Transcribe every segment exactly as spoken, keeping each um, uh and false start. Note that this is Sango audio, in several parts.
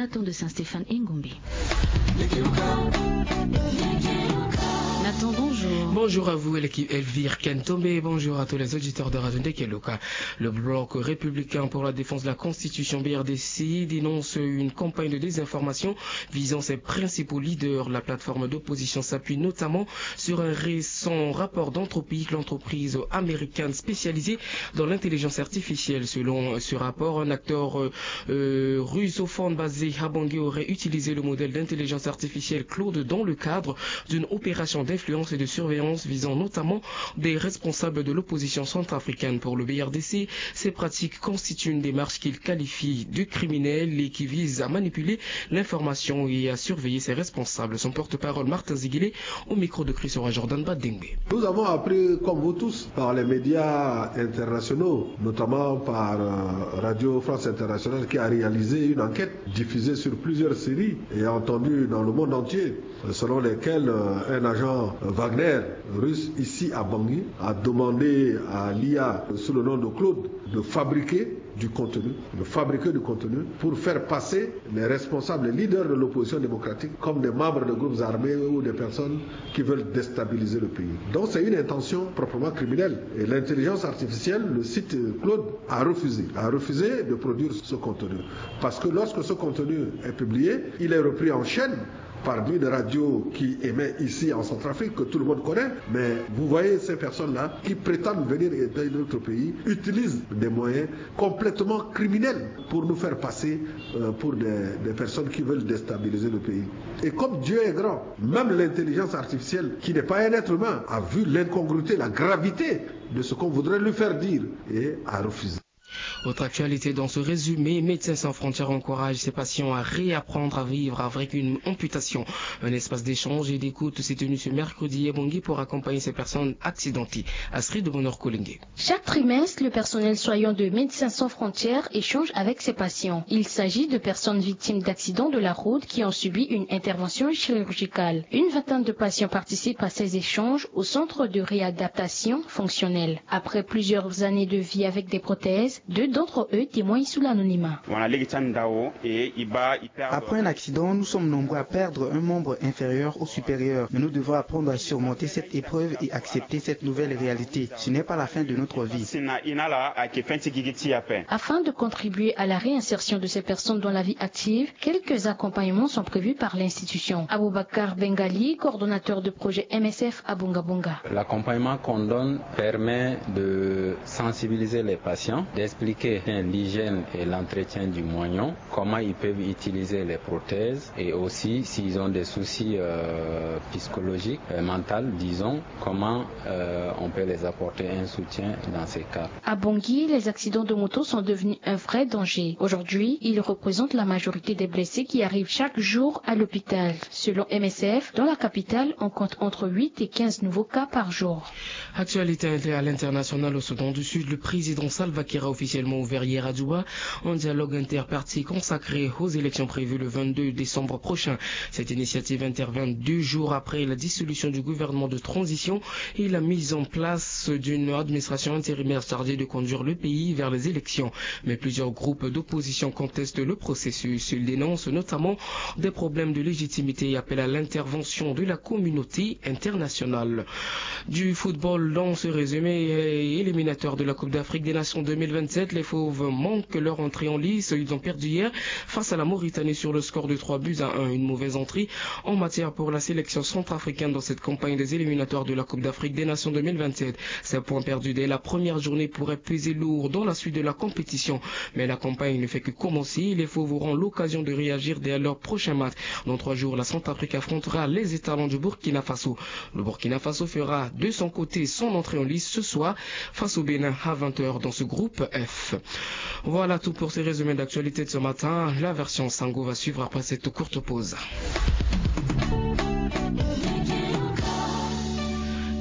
Nathan de Saint-Stéphane Engombe. Nathan, bonjour. Bonjour à vous, Elki-, Elvire Kentombe, et bonjour à tous les auditeurs de Radio Ndeke Luka. Le Bloc républicain pour la défense de la Constitution, B R D C, dénonce une campagne de désinformation visant ses principaux leaders. La plateforme d'opposition s'appuie notamment sur un récent rapport d'Anthropic, l'entreprise américaine spécialisée dans l'intelligence artificielle. Selon ce rapport, un acteur, euh, euh, russophone basé à Bangui aurait utilisé le modèle d'intelligence artificielle Claude dans le cadre d'une opération d'influence et de surveillance visant notamment des responsables de l'opposition centrafricaine. Pour le B R D C, ces pratiques constituent une démarche qu'il qualifie de criminelle et qui vise à manipuler l'information et à surveiller ses responsables. Son porte-parole, Martin Ziguilé, au micro de Chrisora Jordan Badengbe. Nous avons appris, comme vous tous, par les médias internationaux, notamment par, euh, Radio France Internationale, qui a réalisé une enquête diffusée sur plusieurs séries et entendue dans le monde entier, selon lesquelles, euh, un agent Wagner russe ici à Bangui a demandé à l'I A sous le nom de Claude de fabriquer du contenu, de fabriquer du contenu pour faire passer les responsables, les leaders de l'opposition démocratique comme des membres de groupes armés ou des personnes qui veulent déstabiliser le pays. Donc c'est une intention proprement criminelle. Et l'intelligence artificielle, le site Claude, a refusé, a refusé de produire ce contenu. Parce que lorsque ce contenu est publié, il est repris en chaîne par une radio qui émet ici en Centrafrique, que tout le monde connaît. Mais vous voyez ces personnes-là qui prétendent venir aider notre pays, utilisent des moyens complètement criminels pour nous faire passer, euh, pour des, des personnes qui veulent déstabiliser le pays. Et comme Dieu est grand, même l'intelligence artificielle, qui n'est pas un être humain, a vu l'incongruité, la gravité de ce qu'on voudrait lui faire dire et a refusé. Autre actualité dans ce résumé, Médecins sans frontières encourage ses patients à réapprendre à vivre avec une amputation. Un espace d'échange et d'écoute s'est tenu ce mercredi à Bangui pour accompagner ces personnes accidentées. Astrid de Bonheur Kolenge. Chaque trimestre, le personnel soignant de Médecins sans frontières échange avec ses patients. Il s'agit de personnes victimes d'accidents de la route qui ont subi une intervention chirurgicale. Une vingtaine de patients participent à ces échanges au centre de réadaptation fonctionnelle. Après plusieurs années de vie avec des prothèses, deux d'entre eux témoignent sous l'anonymat. Après un accident, nous sommes nombreux à perdre un membre inférieur ou supérieur, mais nous devons apprendre à surmonter cette épreuve et accepter cette nouvelle réalité. Ce n'est pas la fin de notre vie. Afin de contribuer à la réinsertion de ces personnes dans la vie active, quelques accompagnements sont prévus par l'institution. Aboubacar Bengali, coordonnateur de projet M S F à Bongabonga. L'accompagnement qu'on donne permet de sensibiliser les patients, d'expliquer l'hygiène et l'entretien du moignon, comment ils peuvent utiliser les prothèses et aussi s'ils ont des soucis, euh, psychologiques, euh, mentaux, disons, comment, euh, on peut les apporter un soutien dans ces cas. À Bangui, les accidents de moto sont devenus un vrai danger. Aujourd'hui, ils représentent la majorité des blessés qui arrivent chaque jour à l'hôpital. Selon M S F, dans la capitale, on compte entre huit et quinze nouveaux cas par jour. Actualité inter-, à l'international, au Soudan du Sud, le président Salva Kiir a officiellement ouvert hier à Djouba un dialogue interparti consacré aux élections prévues le vingt-deux décembre prochain. Cette initiative intervient deux jours après la dissolution du gouvernement de transition et la mise en place d'une administration intérimaire chargée de conduire le pays vers les élections. Mais plusieurs groupes d'opposition contestent le processus. Ils dénoncent notamment des problèmes de légitimité et appellent à l'intervention de la communauté internationale. Du football dans ce résumé, euh, éliminatoire de la Coupe d'Afrique des Nations deux mille vingt-sept, les Fauves manquent leur entrée en lice. Ils ont perdu hier face à la Mauritanie sur le score de trois buts à un. Une mauvaise entrée en matière pour la sélection centrafricaine dans cette campagne des éliminatoires de la Coupe d'Afrique des Nations deux mille vingt-sept. Ces points perdus dès la première journée pourraient peser lourd dans la suite de la compétition. Mais la campagne ne fait que commencer. Les Fauves auront l'occasion de réagir dès leur prochain match. Dans trois jours, la Centrafrique affrontera les étalons du Burkina Faso. Le Burkina Faso fera de son côté son entrée en lice ce soir face au Bénin à vingt heures dans ce groupe F. Voilà tout pour ces résumés d'actualité de ce matin. La version Sango va suivre après cette courte pause.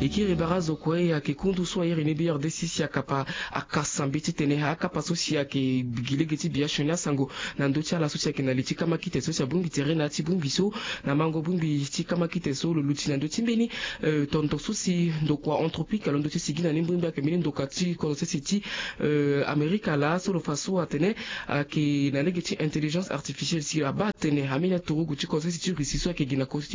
E kiri bara zo kue ayeke kundu so airi ni B R D C si akapa akasa mbi titene akapa so si ayeke gi lege ti biasioni asango na ndö ti ala so si ayeke na li ti kamakite so si abongbi tere na ya ti bongbi so na mango bongbi ti kamakite so lo luti na ndö ti mbeni tondo so si ndokua Anthropique alondo ti sigi na ni mbirimbiri ayeke mbeni ndoka ti kodro sese ti Amerika laa so lo fa so atene ayeke na lege ti intelligence artificielle si abaa atene ambeni aturugu ti kodro sese ti Russie so ayeke gi na kodro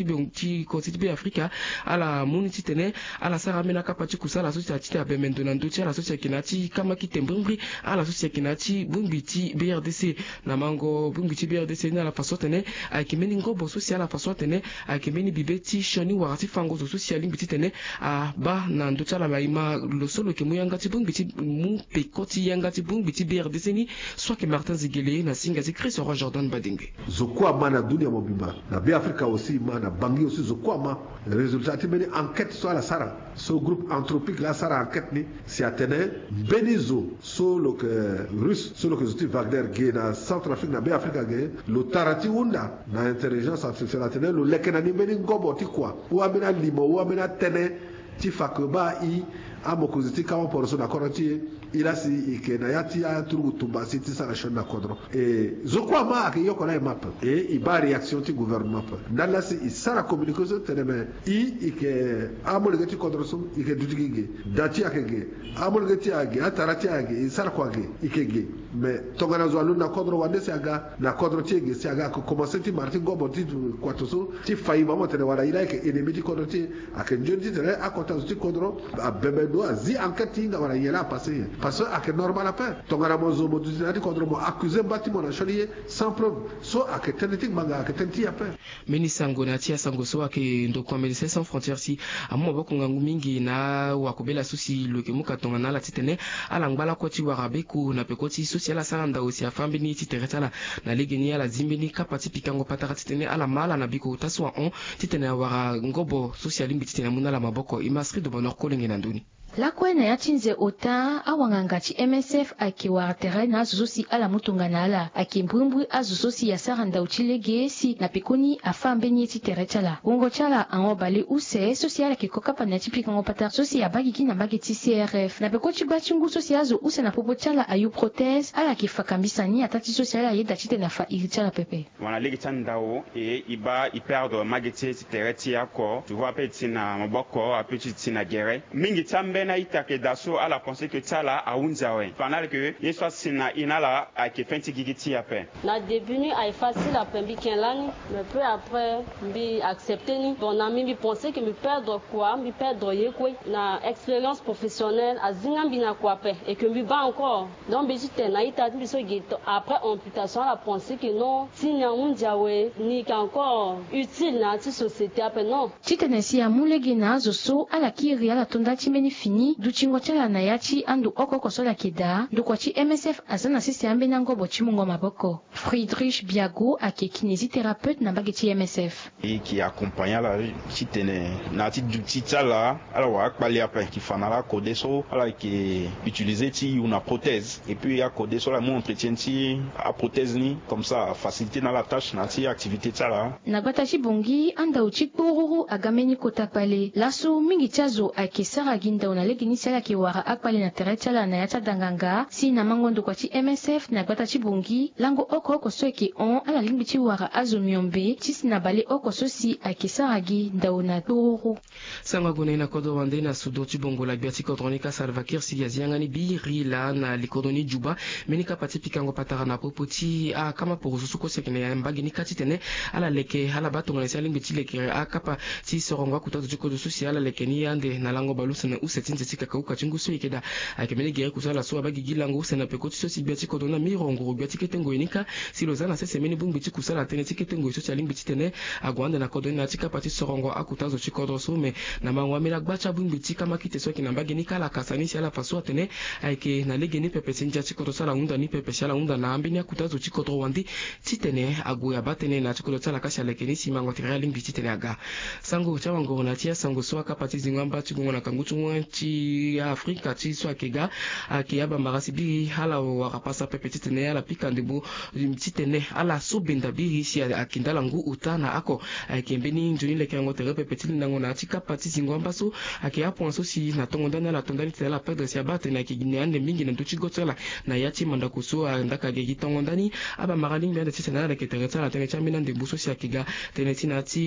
ti Be Afrika ala mu ni titene ala sara ambeni akapa ti kusala so si atene abembe ndo na ndö ti ala so si ayeke na ya ti kamakite mbirimbiri ala so si ayeke na ya ti bongbi ti B R D C. Na mango bongbi ti B R D C ni ala fa so atene ayeke mbeni ngobo so si ala fa so atene ayeke mbeni bibe ti sioni wala ti fango zo so si alingbi titene abaa na ndö ti ala ma e ma lo so lo yeke mu yanga ti bongbi ti mu peko ti yanga ti bongbi ti B R D C ni so ayeke Martin Zigele na singa ti Christ Roi Jordan Badengbe. Zo kue ama na dunia mobimba na Be Afrika aussi ma na Bangi aussi zo kue ama résultat ti mbeni enquête so ala sara so groupe Anthropique laa asara enquête ni si atene mbeni zo so lo yeke Russe so lo yeke zo ti Wagner ge na Centrafrique na Be Afrika ge lo tara ti hunda na intelligence artificielle atene lo leke na ni mbeni ngobo ti kua ou ambeni alimo ou ambeni atënë ti fa ke baa e amokonzi ti kawaporo so na kodro ti e. E laa si e yeke na ya ti aturugu tumba si ti sara sioni na kodro. E zo kue ama ayeke yoko na e ma ape. E e baa réaction ti gouvernement ape ndali laa si e sara communiqué so tene me e e yeke amolenge ti kodro so e yeke duti gi ge. Da ti e ayeke ge. Amolenge ti e ayeke ge, atara ti e ayeke ge, e sara kua ge, e yeke ge. Me tongana zo alondo na kodro wande si aga na kodro ti e ge si aga ayeke komanse ti mara ti ngobo ti kuato so ti fa e ma mo tene wala e laa e yeke ennemi ti kodro ti e. Ayeke nzoni titene akota zo ti kodro abembe ndo azi enquête ti hinga wala nyen laa apasse nyen. Parce que ayeke normal ape. Tongana mo zo mo duti na ya ti kodro mo accusé mba ti mo na sioni ye sans preuve so ayeke tënë ti ngbanga ayeke tënë ti e ape. Mbeni sango na ya ti asango so ayeke ndokua Médecins Sans Frontières si amu maboko ngangu mingi na wakobela so si lo yeke mu ka tongana ala titene ala ngba lakue ti wara beko na peko ti so si ala sara ndau si afâ mbeni ti tere ti ala. Na legeni ala zi mbeni kapa ti pikango patara titene ala ma ala na biko ota so ahon titene awara ngobo so si alingbi titene amu na ala maboko. E ma Astrid Bonheur Kolenge na ndö ni. Lakue na ya ti nze ota awanganga ti M S F ayeke wara tere na azo so si ala mu tongana ala ayeke mbrimbri azo so si asara ndau ti lege si na pekoni afâ mbeni ye ti tere ti ala. Wungo ti ala ahon bale use so si ala yeke ko kapa na ya ti pikango patara so si abaa gigi na mbage ti C R F na peko ti gba ti ngu so si azo use na popo ti ala ayu prothèse ala yeke fa kambisa ni ataa ti so si ala yeda titene afa iri ti ala pepe. Mo na lege ti andau e e baa e perdre mage ti e ti tere ti e oko. Tu vois ape e ti na maboko ape ti e ti na gere. Mingi ti ambeni a-ita ayeke daa so ala pense que ti ala ahunzi awe. Fa na ala ke ye so asi na e na ala ayeke fin ti gigi ti e ape. Na début ni ayeke facile ape mbi ken lani. Mais peu après mbi accepter ni. Bon na mbi mbi pense que mbi perdre kua mbi perdre ye kue. Na expérience professionnelle azinga mbi na kua ape et que mbi baa encore. Donc mbi ti tene na ita ti mbi so ge après amputation ala pense que non ti ni ahunzi awe ni yeke encore utile na ya ti société ape non. Titene si amu lege na azo so ala kiri ala to nda ti mbeni fini dutingo ti ala na ya ti ando oko oko so ala yeke daa ndokua ti M S F aza na sese ambeni angobo ti mungo maboko. Friedrich Biago ayeke kinésithérapeute na mbage ti M S F. E yeke accompagner ala titene na ya ti duti ti ala ala wara akpale ape. Yeke fa na ala akode so ala yeke utiliser ti yu na prothèse et puis akode so ala mu entretien ti aprothèse ni comme ça afaciliter na ala tâche na ya ti activité ti ala. Na gbata ti Bangui andau ti kporuru aga mbeni kota kpale. Laso mingi ti azo ayeke sara gi ndau na legeni si ala yeke wara akpale na tere ti ala na ya ti adanganga si na mango ndokua ti M S F na gbata ti Bangui lango oko oko so ayeke hon ala lingbi ti wara azo miombe ti si na baleoko so si ayeke sara gi ndau na kporuru. Sango ague na e na kodro wande na sudo ti bongo la gbia ti kodro ni ka Salva Kiir si azi yanga ni biri laa na likodro ni Juba. Mbeni kapa ti pikango patara na popo ti akama poroso so kue si ayeke na mbage ni ka titene ala leke ala baa tongana si alingbi ti leke akapa ti sorongo akuta zo ti kodro so si ala leke ni ande na lango bale use na use ti nze ti kakauka ti ngu so e yeke daa. Ayeke mbeni gere kusala so abaa gigi lango use na peko ti so si gbia ti kodro ni amirongo gbia ti kete ngoi ni ka si lo za na sese mbeni bongbi ti kusala tënë ti kete ngoi so si alingbi titene ague ande na kodro ni na ya ti kapa ti sorongo akuta zo ti kodro so me na mango ambeni agba ti abongbi ti kamakite so ayeke na mbage ni ka ala kasa ni si ala fa so atene ayeke na legeni pepe si ndia ti kodro so ala hunda ni pepe si ala hunda na ambeni akuta zo ti kodro wande titene ague abaa tënë na ya ti kodro ti ala ka si aleke ni si mango tere alingbi titene aga. Sango ti awangoro na ya ti asango so akapa ti zingo amba ti gongo na kangu ti wen ti Afrika ti so ayeke ga, ayeke abambara si biri ala wara pasa pepe titene ala pika ndembo, titene ala so benda biri si ayeke ndala ngu ota na ako. Ayeke mbeni nzoni lekerengo tere pepe ti lindango na ya ti kapa ti zingo amba so ayeke apoint so si na tongo ndani ala to ndani titene ala perdre si abaa tene ayeke gi na ande mingi na ndö ti go ti ala. Na ya ti mandako so andaka ayeke gi tongo ndani abambara lingbi ande titene ala leke tere ti ala na tënë ti ambeni andembo so si ayeke ga tënë ti na ya ti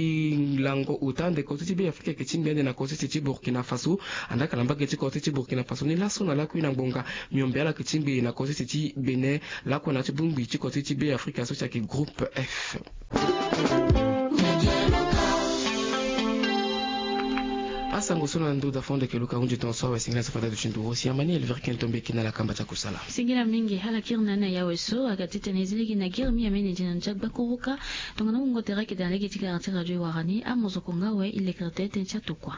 lango ota ande kozo ti Be Afrika ayeke tingbi ande na kozo ti Burkina Faso. Andaka na mbage ti kozo ti Burkina Faso ni laso na lakui na ngbonga miombe ala yeke tingbi na kozo ti Bénin lakue na ya ti bongbi ti kozo ti Be Afrika so si ayeke groupe F. Asango so na ndo da fo ande yeke luka hunzi tongaso awe singila so fade adu ti nduru si amani elevere ken tombe yeke na ala kamba ti akusala. Singila mingi ala kiri na ana ya awe so aga titene e zi lege na giri mi amene di na ndia gbakuruka. Tongana wungo tere ayeke daa na lege ti gara ti radio e wara ni amozoko nga awe e lekere tënë ti atokua.